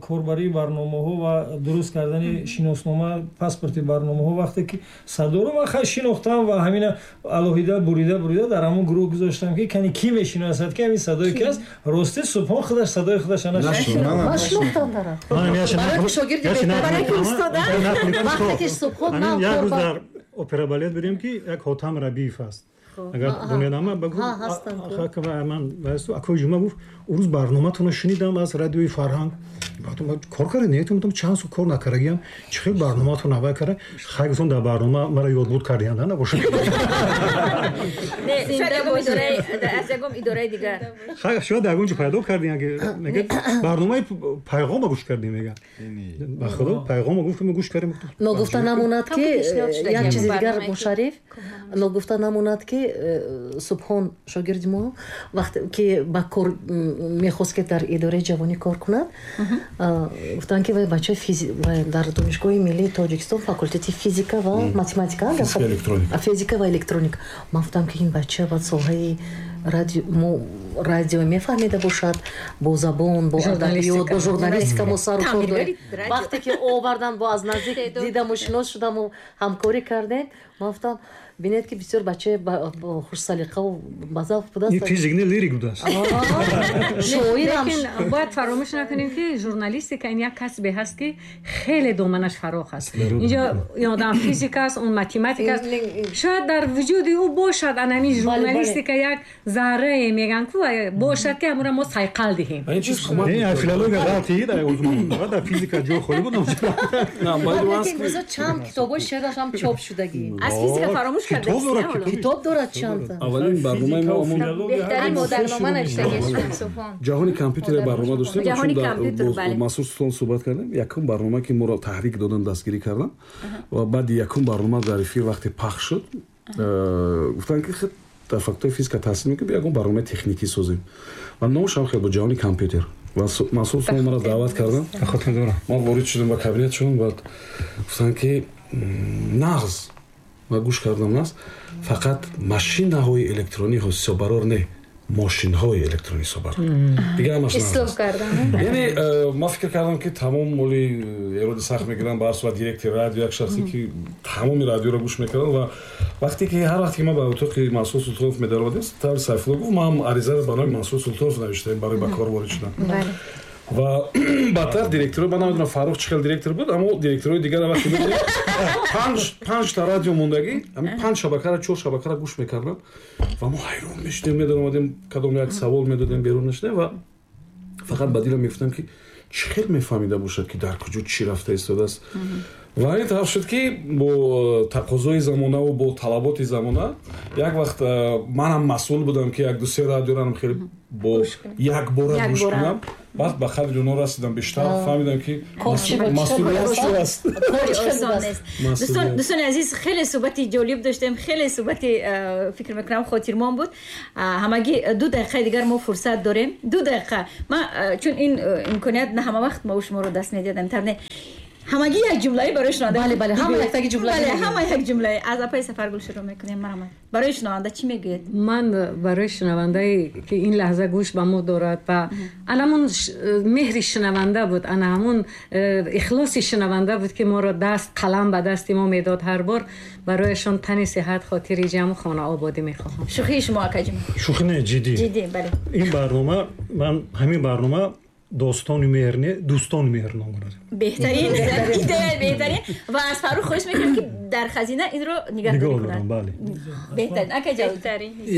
корбарии барномаҳо ва дуруст кардани шиноснома, паспорти барномаҳо, вақте ки садоро ман хай шинохтам ва ҳамина алоҳида бурида бурида дар ҳамон гурӯҳ гузоштам ки кани ки мешиносад ки ҳамин садое ки аст. Рости Субҳон худаш садои худаша нашинохт. Ман шинохтам дара. Барои ки шогирди беҳтар, барои ки устода. Вақте ки Субҳон нав як рӯз дар опера балет будем ки як Ҳотам Рабиев аст. Агар дунёнама ба ман акои Ҷума гуфт, он рӯз барноматонро шунидам аз радиои Фарҳанг. Кор карда не, чанд сол кор накардагиам, чӣ хел барноматон аввал карда? Хай гуфтам, дар барнома мара ёдбуд кардиянд, набошад. Не, шояд аз ягон идораи дигар. Хай шояд дар ягон ҷо пайдо кардиянд, мегӯяд барномаи пайғома гӯш кардем, мегӯяд. Ба худо пайғома гуфт, мо гӯш кардем. Ногуфта намонад ки як чизи дигар, Мушариф, ногуфта намонад ки Субҳон шогирди мо вақте ки ба кор мехост ки дар идораи ҷавонӣ кор кунад, гуфтанд ки вай бачаи дар Донишгоҳи миллии Тоҷикистон факултети физика ва математика, физика ва электроника. Ман гуфтам ки ин бача баъд соҳаи радио мефаҳмида бошад, бо забон, бо адабиёт, бо журналистика мо сару кор дорем. Вақте ки овардан, бо аз наздик дидаму шинос шудаму ҳамкорӣ кардем, ман гуфтам бинед ки бисёр бачаи хушсалиқаву базавқ будааст. Ин физик не, лирик будааст. Шоирам. Лекин бояд фаромӯш накунем ки журналистика ин як касбе ҳаст ки хеле доманаш фарох аст. Инҷо ин одам физик аст, он математик аст. Шояд дар вуҷуди ӯ бошад анами журналистика як заррае мегӯянд ку бошад ки ҳамонро мо сайқал диҳем. Не, филология ғалатӣ дар физика ҷо холӣ буд. Чанд китобҳои шеъраш ҳам чоп шудагӣ. Аз физика фаромӯш китоб дорад чанд. Аввалин барномаи мо беҳтарин модарнома навиштагӣ Субҳон. Ҷаҳони компютер барнома доштем, чун бо Мансур Султон суҳбат кардем. Якум барнома ки моро таҳрик додан, дастгирӣ кардан ва баъди якум барнома дар эфир вақте пахш шуд, гуфтанд ки дар факултаи физика таҳсил мекунем, ягон барномаи техникӣ созем. Ва номаш ҳам хел буд, ҷаҳони компютер. Ва Мансур Султон маро даъват карданд. Ман ворид шудам ба кабинетшон, баъд гуфтанд ки нағз. Ма гӯш кардам, нас фақат машинаҳои электронӣ ҳисоббарор не, мошинҳои электронӣ ҳисоббарор. Дигар ҳамаш ислоҳ кардам. Яъне ман фикр кардам ки тамом моли эроди сахт мегирам, ба ҳар сурат директори радио як шахсе ки тамоми радиоро гӯш мекардам. Ва вақте ки ҳар вақте ки ман ба утоқи Мансур Султонов медаровардем, таври Сайфулло гуфт, ман ҳам аризаро ба номи Мансур Султонов навиштаем барои ба кор ворид шудан. Ва баъдтар директоро, ман намедонам Фаррух чӣ хел директор буд, аммо директорои дигар вақте мебинем панҷта радио мондагӣ, ҳамин панҷ шабакара, чор шабакара гӯш мекарданд ва мо ҳайрон мешудем, медаромадем, кадом як савол медодем, берун мешудем ва фақат ба дилам мегуфтам, ки чӣ хел мефаҳмида бошад, ки дар куҷо чӣ рафта истодааст. Ва ин тараф шуд, ки бо тақозои замонаву бо талаботи замона як вақт манам масъул будам, ки як ду се радиоранам хеле бо якбора гӯш кунам. Баъд ба қадри онҳо расидам, бештар фаҳмидам, ки масъулият чӣ аст. Дӯстони азиз, хеле суҳбати ҷолиб доштем, хеле суҳбати, фикр мекунам, хотирмон буд. Ҳамагӣ 2 дақиқаи дигар мо фурсат дорем, 2 дақиқа. Ман чун ин имконият на ҳама вақт мо шуморо даст медиҳадам, тарне ҳамагӣ як ҷумлаи барои шунаванда. Бале, бале, ҳама яктаги ҷумла. Бале, ҳама як ҷумлаи. Аз апаи Сафаргул шурӯъ мекунем. Марҳамат, барои шунаванда чӣ мегӯед? Ман барои шунавандае, ки ин лаҳза гӯш ба мо дорад ва ана ҳамун меҳри шунаванда буд, ана ҳамун ихлоси шунаванда буд, ки моро даст қалам ба дасти мо медод ҳар бор, барояшон тани сиҳат, хотири ҷамъу хонаободӣ мехоҳам. Шӯхии шумо, акаҷон? Шӯхӣ не, ҷиддӣ. Ҷиддӣ, бале. Ин барнома, ман ҳамин барнома достони меҳр не, дӯстони меҳр ном дорад. Беҳтарин идея, беҳтарин. Ва аз Фаррух хоҳиш мекунем, ки дар хазина инро нигаҳдорӣ кунад. Бале. Беҳтарин, ака Ҷавод.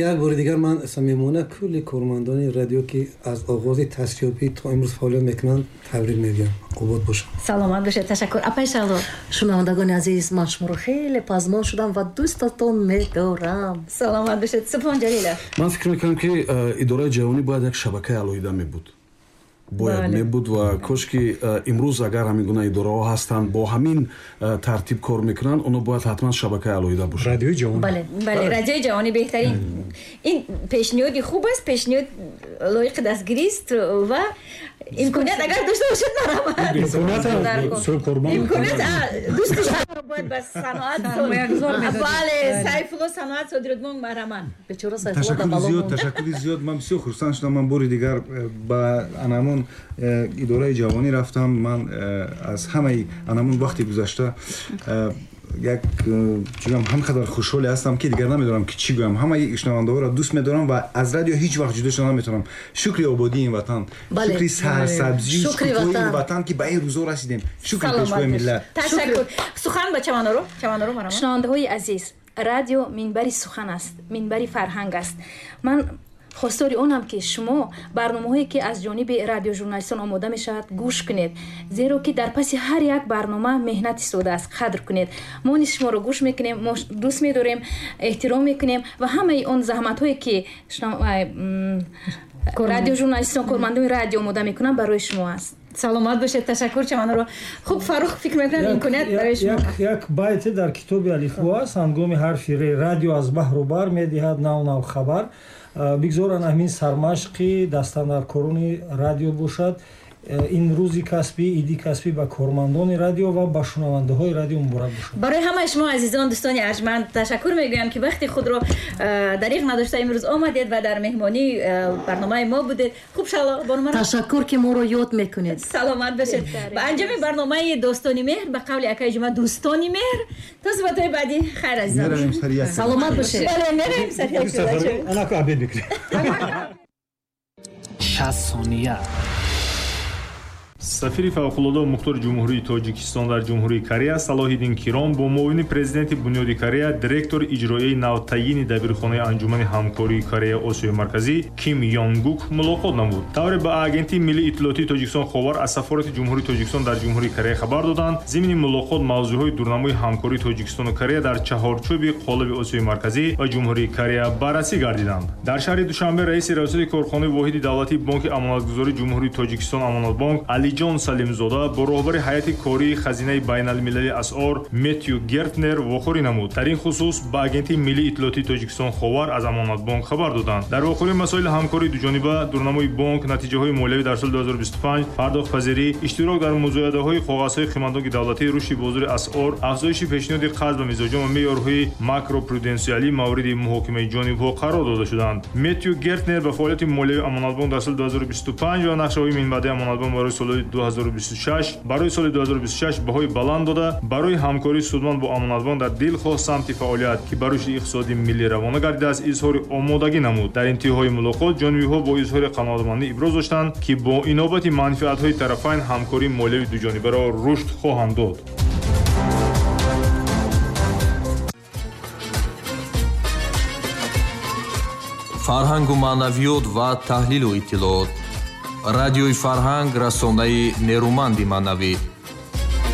Як бори дигар ман самимона кулли кормандони радио, ки аз оғози таъсисёбӣ то имрӯз фаъолият мекунанд, табрик мегӯям, обод бошанд. Саломат бошед, ташаккур. Апаи Шаҳло. Шунавандагони азиз, ман шуморо хеле пазмон шудам ва дӯстатон медорам. Саломат бошед. Субҳон Ҷалилов. Ман фикр мекунам, ки идораи ҷавонӣ бояд як шабакаи алоҳида мебуд, бояд мебуд ва кош ки имрӯз агар ҳамин гуна идораҳо ҳастанд, бо ҳамин тартиб кор мекунанд, онҳо бояд ҳатман шабакаи алоҳида бошанд. Радиои ҷавонӣ. Бале, бале, радиои ҷавонӣ беҳтарин. Ин пешниҳоди хуб аст, пешниҳод лоиқи дастгирист ва имконият агар дошта бошад, марҳамат. Имконият дӯсти бояд ба саноат, бале, Сайфулло, саноат содиротмон, марҳамат. Ташаккури зиёд, ташаккури зиёд. Ман бисёр хурсанд шудам. Ман бори дигар ба анамон идораи ҷавонӣ рафтам. Ман аз ҳамаи анамон вақти гузашта як чигам ҳам қадар хушҳоле ҳастам, ки дигар намедонам, ки чӣ гӯям. Ҳамаи шунавандаҳоро дӯст медорам ва аз радио ҳеҷ вақт ҷудо шуда наметавонам. Шукри ободии ин ватан, шукри сарсабзию шукуфоии ин ватан, ки ба ин рӯзо расидем. Шукри пешвои миллат. Ташаккур. Сухан ба Чаманоро, Чаманоро, марҳамат. Шунавандаҳои азиз, радио минбари сухан аст, минбари фарҳанг аст. Ман хостори онам, ки шумо барномаҳое, ки аз ҷониби радиожурналистон омода мешавад, гӯш кунед, зеро ки дар паси ҳар як барнома меҳнат истодааст. Қадр кунед. Мо низ шуморо гӯш мекунем, мо дӯст медорем, эҳтиром мекунем ва ҳамаи он заҳматҳое, ки радиожурналистон, кормандони радио омода мекунанд, барои шумо аст. Саломат бошед, ташаккур, Чаманоро. Хуб, Фаррух, фикр мекунам, имконият барои шумо. Як байте дар китоби алифбо аст, ҳангоми ҳарфи ре: радио аз баҳру бар медиҳад нав нав хабар. Бигзоранд ҳамин сармашқи дастандаркорони радио бошад. Ин рӯзи касбӣ, иди касбӣ ба кормандони радио ва ба шунавандаҳои радио муборак бошад. Барои ҳамаи шумо азизон, дӯстони арҷманд, ташаккур мегӯям, ки вақти худро дариғ надошта имрӯз омадед ва дар меҳмонии барномаи мо будед. Хуб, Шало бонумара. Ташаккур, ки моро ёд мекунед. Саломат бошед. Ба анҷоми барномаи Достони меҳр, ба қавли акаи Ҷума, дӯстони меҳр, то суҳбатҳои баъдӣ, хайр, азизон. Саломат бошед. Бале, меравем сари як. Анаку обед мекунем. 60 сония. Сафири фавқулода мухтори Ҷумҳурии Тоҷикистон дар Ҷумҳурии Корея Салоҳиддин Киром бо муовини президенти Бунёди Корея, директори иҷроияи навтаъйини Дабирхонаи Анҷумани ҳамкории Кореяи Осиёи Марказӣ Ким Ёнгук мулоқот намуд. Тавре ба Агентии миллии иттилоотии Тоҷикистон «Ховар» аз сафорати Ҷумҳурии Тоҷикистон дар Ҷумҳурии Корея хабар доданд, зимни мулоқот мавзӯъҳои дурнамои ҳамкории Тоҷикистону Корея дар чаҳорчӯби қолаби Осиёи Марказӣ ва Ҷумҳурии Корея баррасӣ гардиданд. Дар шаҳри Душанбе раиси раёсати корхонаи воҳиди давлатии Бонки амонатгузории Ҷумҳурии Тоҷикистон «Амонатбонк» Алиҷон Салимзода бо роҳбари ҳайати кории Хазинаи байналмилалии асъор Метью Гертнер вохӯрӣ намуд. Дар ин хусус ба Агентии миллии иттилоотии Тоҷикистон «Ховар» аз «Амонатбонк» хабар доданд. Дар вохӯрӣ масоили ҳамкории дуҷониба, дурнамои бонк, натиҷаҳои молиявӣ дар соли 2025, пардохтпазирӣ, иштирок дар музоядаҳои коғазҳои қиматноки давлатӣ, рушди бозори асъор, афзоиши пешниҳоди қарз ба мизоҷон ва меъёрҳои макропруденсиалӣ мавриди муҳокимаи ҷонибҳо қарор дода шуданд. Метью Гертнер ба фаъолияти молиявии «Амонатбонк» дар соли 2025 ва нақшаҳои минбаъдаи «Амонатбонк» барои солҳои соли 2026 барои соли 2026 баҳои баланд дода, барои ҳамкории судманд бо Амонатбонк дар дилхоҳ самти фаъолият, ки ба рушди иқтисодии миллӣ равона гардидааст, изҳори омодагӣ намуд. Дар интиҳои мулоқот ҷонибиҳо бо изҳори қаноатмандӣ иброз доштанд, ки бо инобати манфиатҳои тарафайн ҳамкории молиявии дуҷонибаро рушд хоҳанд дод. Фарҳангу маънавиёт ва таҳлилу иттилоот. Радиои Фарҳанг, расонаи нерӯманди маънавӣ.